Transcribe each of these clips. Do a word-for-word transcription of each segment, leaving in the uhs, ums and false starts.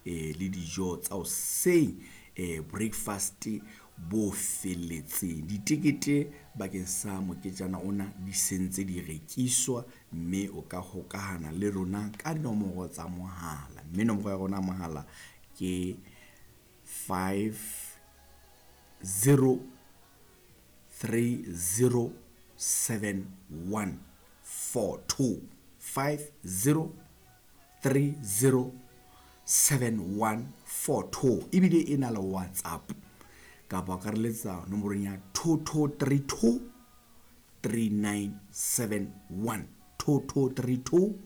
eh, le dijo tsa hoseng, eh, breakfast bo felletseng. Ditekete bakeng sa moketjana ona di sentse di rekiswa, mme o ka hokahana le rona ka dinomoro tsa mohala, mme nomoro ya rona ya mohala ke five zero three zero seven one four two, five zero three zero seven one four two. Ebile e na le WhatsApp, kapa o ka re letsa nomorong ya two two three two three nine seven one, two two three two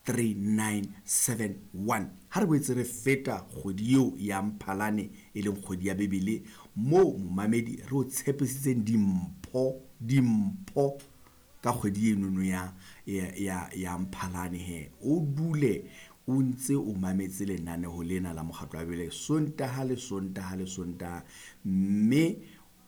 three nine seven one. Ha re boetse re feta kgwedi eo ya Mphalane, e leng kgwedi ya Bibele, moo momamedi re o tshepisitseng dimpho, dimpho ka kgwedi enono ya, ya, ya, ya Mphalane. He o dule o ntse o mametse lenaneo lena la Mokgatlo wa Bibele Sontaha le Sontaha le Sontaha, mme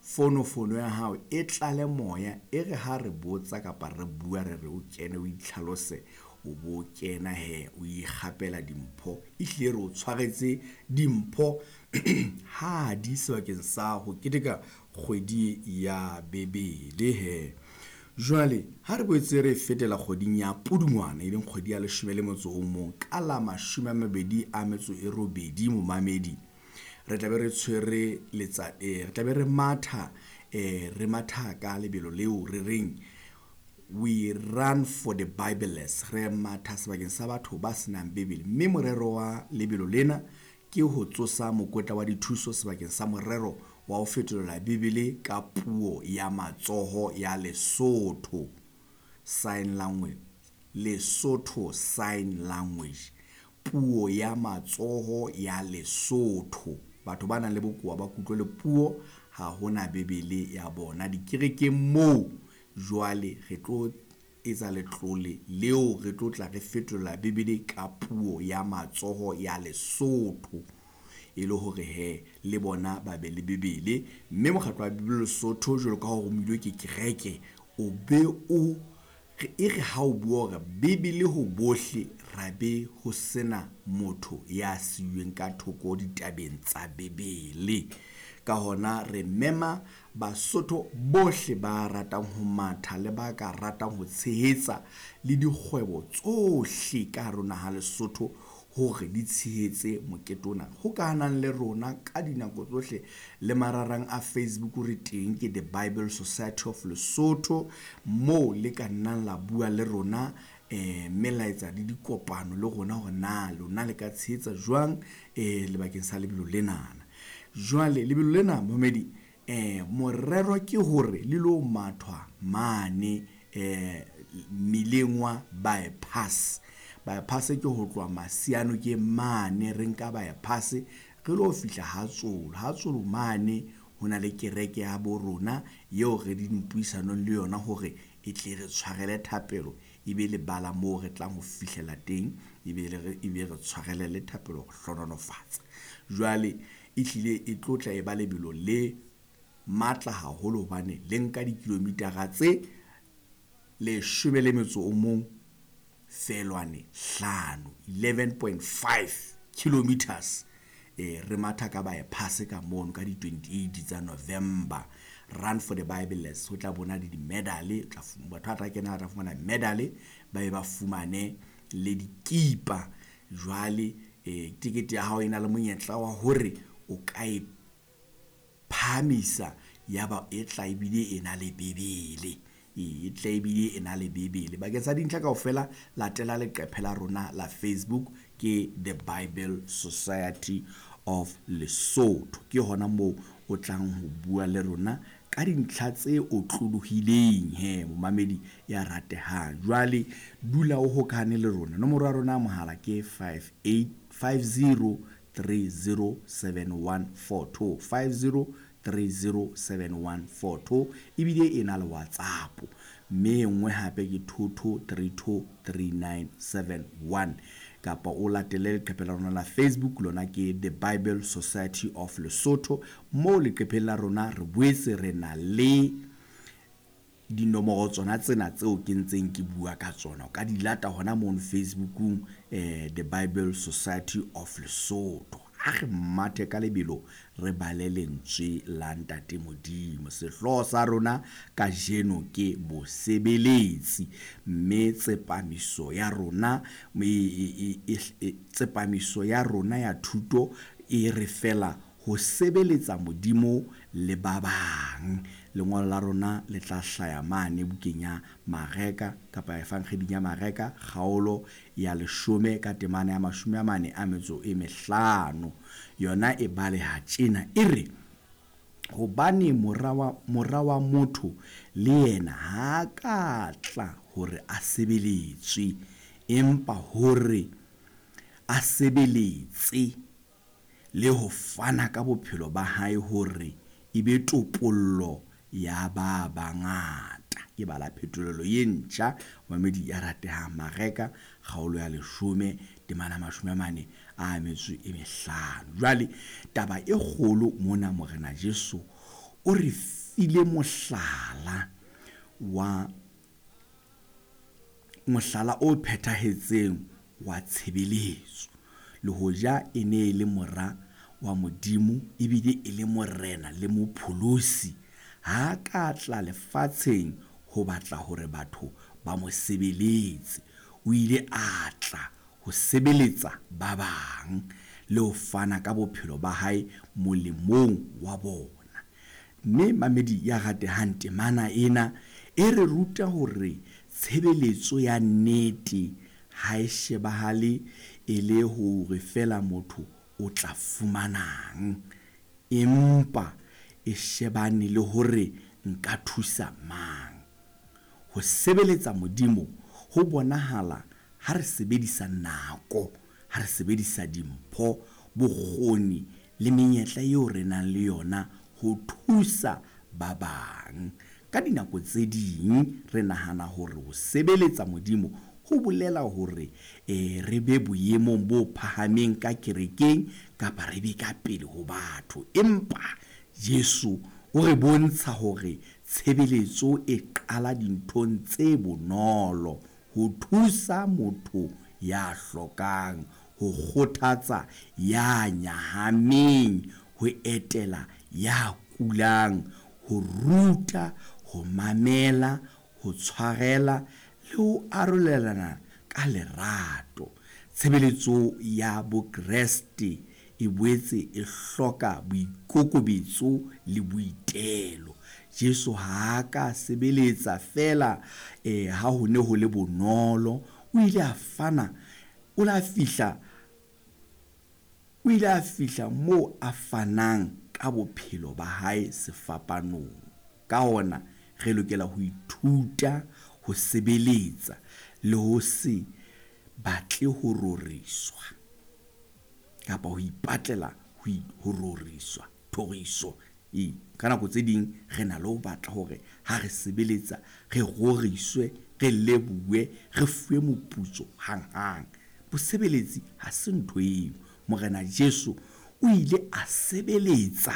fonofono ya hao e tlale moya, e re ha re botsa kapa re bua re re o kene o itlhalose, o bo kena he o ikgapela dimpho. Ehlile re o tshwaretse dimpho ha di sebakeng sa ho keteka kgwedi ya Bibele he. Jwale ha re boetse re fetela kgweding ya Pudungwana, e leng kgwedi ya leshome le motso o mong, ka la mashome a mabedi a metso e robedi, momamedi, re tla be re tshwere letsa, eh, re tla be re matha, eh, re matha ka lebelo leo re reng we run for the Bibleless. Re matha sebakeng sa batho ba senang Bibele, mme morero wa lebelo lena ke ho tsosa mokotla wa dithuso sebakeng sa morero wa ho fetolela Bibele ka puo ya matsoho ya Lesotho Sign Language, Lesotho Sign Language, puo ya matsoho ya Lesotho. Batho ba nang le bokowa ba kutlo le puo, ha hona Bibele ya bona dikerekeng moo. Jwale re tlo etsa letlole leo re tlo tla re fetolela Bibele ka puo ya matsoho ya Lesotho, e le hore he le bona ba be le Bibele. Mme Mokgatlo wa Bibele Lesotho, jwalo ka ha o romilwe ke kereke, o be o re, e re ha o bua hore Bibele ho bohle, ra be ho sena motho ya siuweng ka thoko ditabeng tsa Bibele. Ka hona re mema Basotho bohle ba ratang ho matha le ba ka ratang ho tshehetsa le dikgwebo tsohle ka hare ho naha Lesotho hore di tshehetse mokete ona. Hokahanang le rona ka dinako tsohle le mararang a Facebook re teng, ke The Bible Society of Lesotho, moo le ka nnang la bua le rona, eh, mme la etsa le dikopano le rona hore na lona le ka tshehetsa jwang, eh, lebakeng sa lebelo lenana. Jwale lebelo lena momedi, eh, morero ke hore le lo mathwa mane, eh, mmileng wa bypass. Bypass ke ho tloha Masiano ke mane, re nka bypass re lo fihla ha Tsolo. Ha Tsolo mane ho na le kereke ya bo rona eo re di puisanong le yona hore e tle re tshwarele thapelo, e be lebala moo re tlang ho fihlela teng, e be re, e be re tshwarele le thapelo ho hlohonolofatsa. Jwale e hlile e tlo tla e ba lebelo le matla haholo hobane le nka dikilomitara tse leshome le metso o mong feelwane hlano, eleven point five kilometers. Eh, re matha ka bypass ka mono ka di twenty-eight tsa November. Run for the Bibleless, ho tla bona le di-medal, tla fu-, batho ba tla kena ba tla fumana medal, ba be ba fumane le dikipa. Jwale, eh, tikete ya hao e na le monyetla wa hore o ka e phahamisa, ya ba e tla ebile e na le Bibele. E tla ebile e na le Bibele. Bakeng sa dintlha kaofela, latela leqephe la rona la Facebook, ke The Bible Society of Lesotho. Ke hona moo o tlang ho bua le rona ka dintlha tse otlolohileng he, momamedi ya ratehang. Jwale dula o hokahane le rona. Nomoro ya rona ya mohala ke five eight five zero three zero seven one four two, five zero three zero seven one four two. Ebile e na le WhatsApp, mme e nngwe hape ke two two three two three nine seven one. Kapa o latele leqephe la rona la Facebook, lona ke The Bible Society of Lesotho. Moo leqepheng la rona re boetse re na le Dinomoro tsona tsena tseo ke ntseng ke bua ka tsona o ka di lata hona mono Facebookung, eh, The Bible Society of Lesotho. Ha re mathe ka lebelo re bale lentswe la Ntate Modimo. Sehlooho sa rona kajeno ke bosebeletsi, mme tsepamiso ya rona e, e, e, tsepamiso ya rona ya thuto e re fela ho sebeletsa Modimo le ba bang. Lengolo la rona le tla hlaya mane bukeng ya Mareka kapa Evangeding ya Mareka kgaolo ya leshome ka temana ya mashome a mane a metso e mehlano. Yona e baleha tjena, e re: hobane mora wa, mora wa motho le yena ha ka tla hore a sebeletswe, empa hore a sebeletse le ho fana ka bophelo ba hae hore e be topollo ya ba bangata. Ke bala phetolelo ye ntjha, mamedi ya ratehang, Mareka kgaolo ya leshome temana mashome a mane a metso e mehlano. Jwale taba e kgolo mona, Morena Jesu o re file mohlala wa mohlala o phethahetseng wa tshebeletso. Le hoja e ne e le mora wa Modimo ebile e le morena le mopholosi, ha ka tla lefatsheng ho batla hore batho ba mo sebeletse. O ile a tla ho sebeletsa ba bang le ho fana ka bophelo ba hae molemong wa bona. Mme mamedi ya ratehang, temana ena e re ruta hore tshebeletso ya nnete ha e shebahale e le hore fela motho o tla fumanang, empa e shebane le hore nka thusa mang. Ho sebeletsa Modimo ho bonahala ha re sebedisa nako, ha re sebedisa dimpho, bokgoni le menyetla eo re nang le yona ho thusa ba bang. Ka dinako tse ding re nahana hore ho sebeletsa Modimo ho bolela hore eh, re be boemong bo phahameng ka kerekeng kapa re be ka pele ho batho. Empa Jesu o re bontsha hore tshebeletso e qala dinthong tse bonolo, ho thusa motho ya hlokang, ho kgothatsa ya nyahameng, ho etela ya kulang, ho ruta, ho mamela, ho tshwarela le ho arolelana ka lerato. Tshebeletso ya Bokreste e boetse e hloka boikokobetso le boitelo. Jesu ha a ka sebeletsa fela eh, ha ho ne ho le bonolo. O ile a fana, o la fihla, o ile a fihla moo a fanang ka bophelo ba hae sefapanong. Ka hona re lokela ho ithuta ho sebeletsa le ho se batle ho roriswa kapa ho ipatlela ho roriswa, thoriso. E, ka nako tse ding re na le ho batla hore ha re sebeletsa re roriswe, re lebohuwe, re fuwe moputso hanghang. Bosebeletsi ha se ntho eo. Morena Jesu o ile a sebeletsa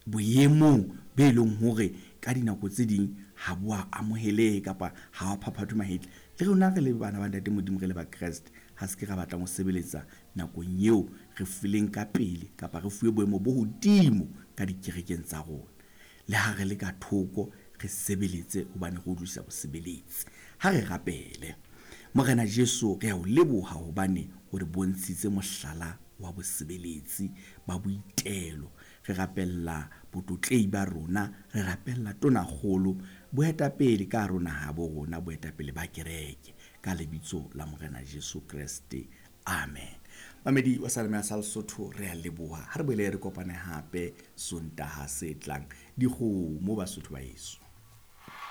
boemong be leng hore ka dinako tse ding ha bo a amohelehe kapa ha wa phaphathwe mahetla. Le rona re le bana ba Ntate Modimo, re le Bakreste, ha se ke ra batlang ho sebeletsa nakong eo re fileng ka pele kapa re fuwe boemo bo hodimo ka dikerekeng tsa rona. Le ha re le ka thoko re sebeletse hobane re utlwisisa bosebeletsi. Ha re rapele. Morena Jesu, re a o leboha hobane o re bontshitse mohlala wa bosebeletsi ba boitelo. Re rapella botlotlei ba rona, re rapella tonakgolo, boetapele ka rona ha bo rona, boetapele ba kereke, ka lebitso la Morena Jesu Kreste. Amen. Mamedi wa Salome ya sa Lesotho, re a leboha. Ha re boele re kopane hape Sontaha se tlang. Dikgomo Basotho ba heso.